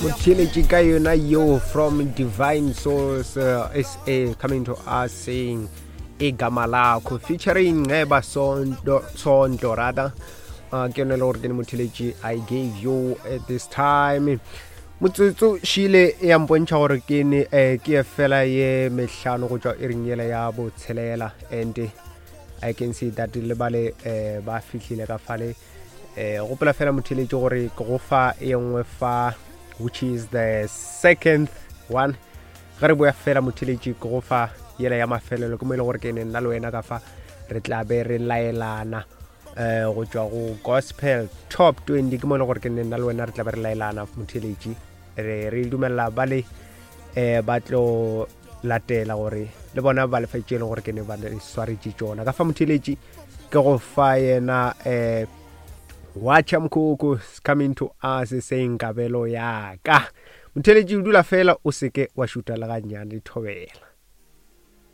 Motheeletši ka yona yo from Divine Source SA coming to us saying Igama Lakho featuring Nceba Sondo Sondo rather. Ke yone le gore ke ne motheeletši I gave you at this time. Motsotso šile ya mpontšha gore ke ne ke ye fela ye mehlano go tšwa iring yela ya botshelela, and I can see that le bale ba fihlile ka fale. Gopola fela motheeletši gore ke go fa e nngwe fa, which is the second one. Ge re boya fela motheeletši, ke go fa yela ya mafelelo, ke mo e le gore ke ne nna le wena ka fa re tla be re laelana go tšwa go Gospel Top 20. Ke mo e le gore ke ne nna le wena re tla be re laelana motheeletši, re dumelela ba le ba tlo latela gore le bona ba lefa tše e leng gore ke ne ba le swaretše tšona ka fa. Motheeletši, ke go fa yena Watcha Mkhukhu is coming to us saying Kabelo Yaka. Motheeletši, o dula fela, o seke wa šuta le gannyane. Thobela.